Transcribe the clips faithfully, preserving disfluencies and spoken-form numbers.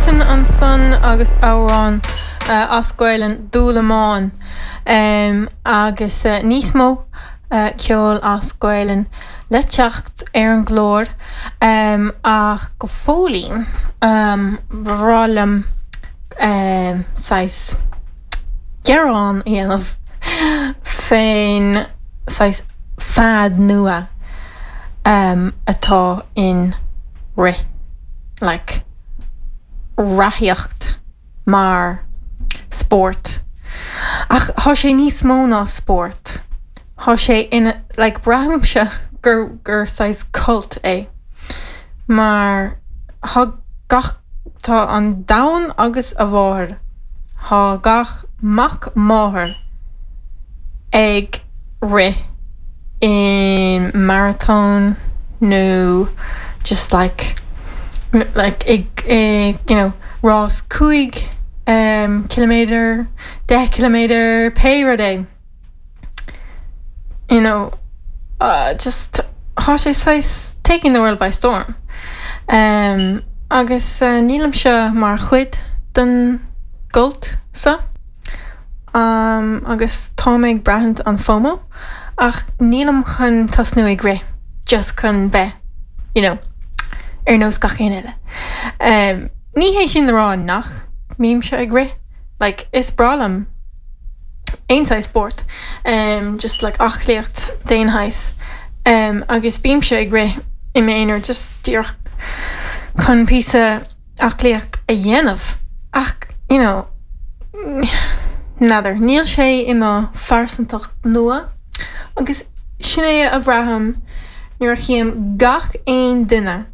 Bruton ansan agus amhrán uh, as Gaelainn Dúlamán um, agus uh, níos mó uh, ceol as Gaelainn le teacht ar an gclár um, ach go fóillín um, ba bhreá liom um, saghas gearán a dhéanamh fén saghas fad nua um, atá in rith like reathaíocht mar spórt. Ach tá sé níos mó ná spórt. Tá sé ina like braithimse gur gur saghas cult é. Mar tá gach tá an domhan agus a mháthair Tá gach mac máthar ag rith in marathon nó just like like ag ag you know rás cúig um, kilometer deich kilometer pé rud é. You know uh, just tá sé saghas taking the world by storm. Um, agus uh, nílimse mar chuid den gcult seo. Um, agus tá mé ag braithint an FOMO ach nílim chun tosnú ag rith just chun bheith you know, ar nós gach aon eile. Um, ní hé sin le rá nach mbímse ag rith, like, is breá liom aon saghas spórt, um, just like aclaíocht d'aon shaghas. Um, agus bímse ag rith i m'aonar just díreach chun píosa aclaíocht a dhéanamh ach you know, n'fheadar, níl sé i mo phearsantacht nua agus sin é a bhraithim nuair a chím gach aon duine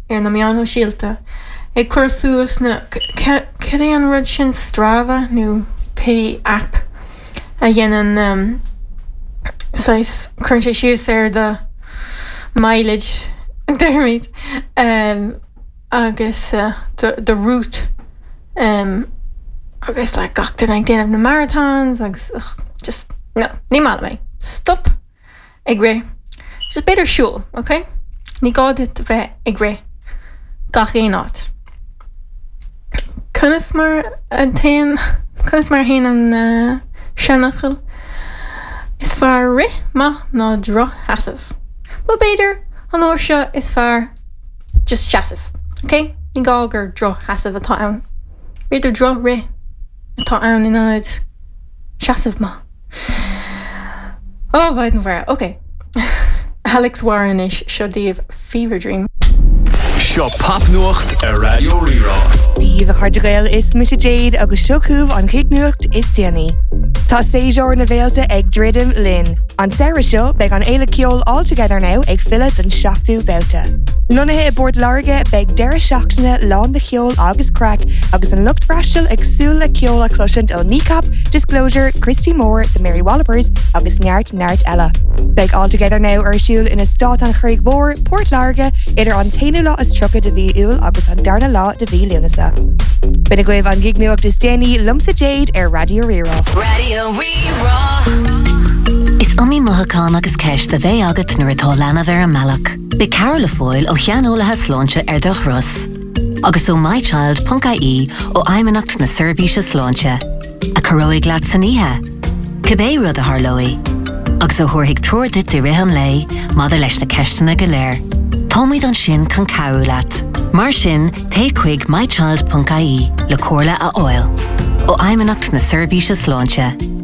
ar na meáin shóisialta ag cur suas na cad é an rud sin Strava nó pé app a dhéanann um, saghas cuireann sé síos ar do mileage deirmid um, agus uh, the, the route um, agus like gach duine ag déanamh na marathons agus ugh, just no, ní maith liom é. Stop ag rith. Just b'fhéidir siúl, okay? Ní gá duit bheith ag rith gach aon áit. Conas mar a théann conas mar a théann an uh, seanfhocal Is fearr rith maith ná drochsheasamh. Well b'fhéidir an uair seo is fearr just seasamh, okay? Ní gá gur drochsheasamh atá ann. B'fhéidir drochrith atá ann in ionad seasamh maith. Ó bhaid an bhar, okay. Alex Warren is seo daoibh Fever Dream. Seo popnuacht ar Raidió Rí-Rá. Dia daoibh a chairde Gael is mise Jade agus seo chugaibh an chignuacht is déanaí. Tá séasúr na bhféilte ag druidim linn. An samhradh seo beidh an fhéile ceoil All Together Now ag filleadh don seachtú babhta. Lonnaithe i bPort Láirge beidh deireadh seachtaine lán de cheol agus craic agus an lucht freastail ag súil le ceol a chloisint ó Kneecap, Disclosure, Christy Moore, The Mary Wallopers agus neart neart eile. Beidh All Together Now ar siúl in Eastát an Chreig Mhór, Port Láirge idir an t-aonú lá is tríocha de mhí Iúil agus an darna lá de mhí Lúnasa. B'in agaibh an gignuacht is déanaí liomsa Jade ar Raidió Rí-Rá. Raidió Rí-Rá. Is iomaí mothúchán agus ceist a bheidh agat nuair atá leanbh ar an mbealach. Beidh cabhair le fáil ó shaineolaithe sláinte ar do thuras. Agus ó mychild.ie ó Fheidhmeannacht na Seirbhíse Sláinte. A chabhróidh leat san oíche. Cibé rud a tharlóidh. Agus a thabharfaidh treoir duit i rith an lae maidir leis na ceisteanna go léir. Táimid ansin chun cabhrú leat. Mar sin téigh chuig mychild.ie le comhairle a fháil. Ó Fheidhmeannacht na Seirbhíse Sláinte.